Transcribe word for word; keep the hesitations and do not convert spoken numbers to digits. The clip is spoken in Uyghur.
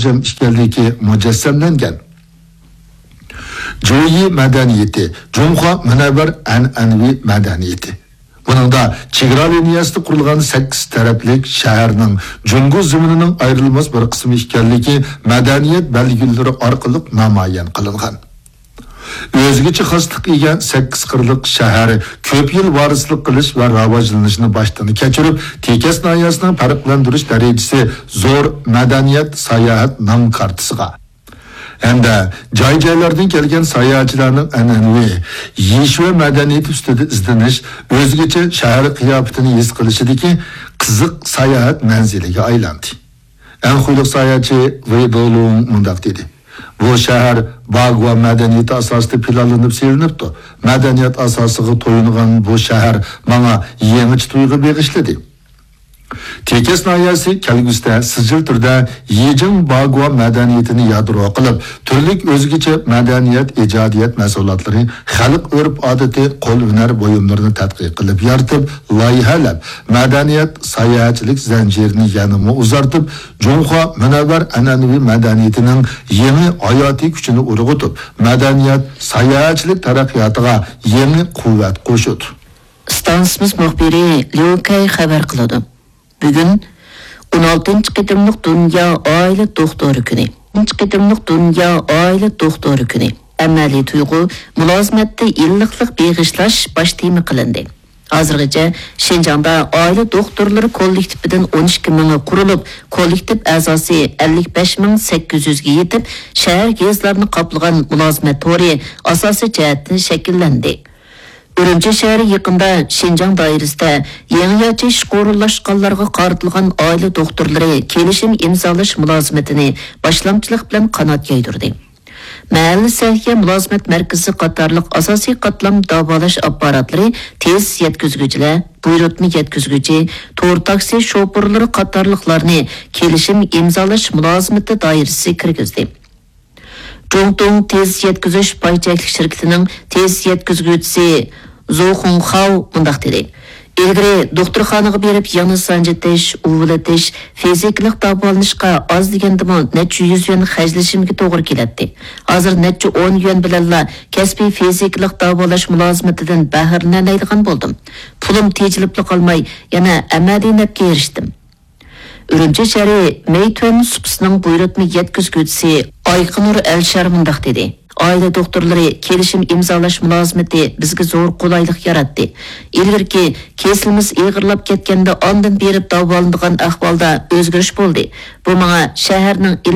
مۇنسىجەم ئىكەنلىكى مۇجەسسەملەنگەن. جۇيى مەدەنىيىتى، جۇڭخۇا مۇنەۋۋەر ئەنئەنىۋى مەدەنىيىتى. بۇنىڭدا چېگرا لىنىيەسىدە قۇرۇلغان سەككىز تەرەپلىك شەھەرنىڭ جۇڭگو زېمىنىنىڭ ئايرىلماس بىر قىسمى ئىكەنلىكى مەدەنىيەت بەلگىلىرى ئارقىلىق نامايان قىلىنغان. ئۆزگىچە خاسلىققا ئىگە سەككىز قىرلىق شەھەر كۆپ يىل ۋارىسلىق قىلىش ۋە راۋاجلىنىشنى باشتىن كەچۈرۈپ، تېكەس ناھىيەسىنىڭ پەرقلەندۈرۈش دەرىجىسى زور مەدەنىيەت، ساياھەت نام كارتىسىغا ھەمدە جاي-جايلاردىن كەلگەن ساياھەتچىلەرنىڭ ئەنئەنىۋى يېشىۋە مەدەنىيىتى ئۈستىدە ئىزدىنىش، ئۆزگىچە شەھەر قىياپىتىنى ھېس قىلىشىدىكى قىزىق ساياھەت مەنزىلىگە ئايلاندى. ئەنخۇيلۇق ساياھەتچى ۋېي دولۇڭ مۇنداق دېدى: «بۇ شەھەر باگۇا مەدەنىيىتى ئاساسىدا پىلانلىنىپ سېلىنىپتۇ. مەدەنىيەت ئاساسىغا تويۇنغان بۇ شەھەر ماڭا يېڭىچە تۇيغۇ بېغىشلىدى.» تېكەس ناھىيەسى كەلگۈسىدە سىجىل تۈردە يىجىڭ باگۇا مەدەنىيىتىنى يادرو قىلىپ، تۈرلۈك ئۆزگىچە مەدەنىيەت، ئىجادىيەت مەھسۇلاتلىرى، خەلق ئۆرپ-ئادىتى، قول ھۈنەر بۇيۇملىرىنى تەتقىق قىلىپ يارىتىپ، لايىھەلەپ، مەدەنىيەت، ساياھەتچىلىك زەنجىرىنى يەنىمۇ ئۇزارتىپ، جۇڭخۇا مۇنەۋۋەر ئەنئەنىۋى مەدەنىيىتىنىڭ يېڭى ھاياتىي كۈچىنى ئۇرغۇتۇپ، مەدەنىيەت، ساياھەتچىلىك تەرەققىياتىغا يېڭى قۇۋۋەت قوشىدۇ. ئىستانسىمىز مۇخبىرى ليۇ كەي خەۋەر قىلىدۇ. بۈگۈن ئون ئالتىنچى قېتىملىق دۇنيا ئائىلە دوختۇرى كۈنى. ئون ئالتىنچى قېتىملىق دۇنيا ئائىلە دوختۇرى كۈنى. ئەمەلىي تۇيغۇ، مۇلازىمەتتە ئىللىقلىق بېغىشلاش باش تېما قىلىندى. ھازىرغىچە شىنجاڭدا ئائىلە دوختۇرلىرى كوللېكتىپىدىن ئون ئىككى مىڭى قۇرۇلۇپ، كوللېكتىپ ئەزاسى ئەللىك بەش مىڭ سەككىز يۈزگە يېتىپ، شەھەر، يېزىلارنى قاپلىغان مۇلازىمەت تورى ئاساسىي جەھەتتىن شەكىللەندى. ئۈرۈمچى شەھىرى يېقىندا شىنجاڭ دائىرىسىدە يېڭىچە ئىشقا ئورۇنلاشقانلارغا قارىتىلغان ئائىلە دوختۇرلىرى كېلىشىم ئىمزالاش مۇلازىمىتىنى باشلامچىلىق بىلەن قانات يايدۇردى. مەھەللە سەھىيە مۇلازىمەت مەركىزى قاتارلىق ئاساسىي قاتلام داۋالاش ئاپپاراتلىرى تېز يەتكۈزگۈچىلەر، بۇيرۇتما يەتكۈزگۈچى، تور تاكسى شوپۇرلىرى قاتارلىقلارنى كېلىشىم ئىمزالاش مۇلازىمىتى دائىرىسىگە كىرگۈزدى. جۇڭتۇڭ تېز يەتكۈزۈش پاي چەكلىك شىركىتىنىڭ تېز يەتكۈزگۈچىسى زو خۇڭخاۋ مۇنداق دېدى: «ئىلگىرى دوختۇرخانىغا بېرىپ يىڭنە سانجىتىش، ئۇۋىلىتىش، فىزىكىلىق داۋالىنىشقا ئاز دېگەندىمۇ نەچچە يۈز يۈەن خەجلىشىمگە توغرا كېلەتتى. ھازىر نەچچە ئون يۈەن بىلەنلا كەسپىي فىزىكىلىق داۋالاش مۇلازىمىتىدىن بەھرىلىنەلەيدىغان بولدۇم. پۇلۇم تېجىلىپلا قالماي، يەنە ئەمەلىي نەپكە ئېرىشتىم.» ئۈرۈمچى شەھىرى مەيتۈەن سۇپىسىنىڭ بۇيرۇتما يەتكۈزگۈچىسى ئايقىنۇر ئەلشار مۇنداق دېدى: «ئائىلە دوختۇرلىرى كېلىشىم ئىمزالاش مۇلازىمىتى بىزگە زور قولايلىق ياراتتى. ئىلگىرىكى كېسىلىمىز ئېغىرلاپ كەتكەندە ئاندىن بېرىپ داۋالىنىدىغان ئەھۋالدا ئۆزگىرىش بولدى. بۇ ماڭا شەھەرنىڭ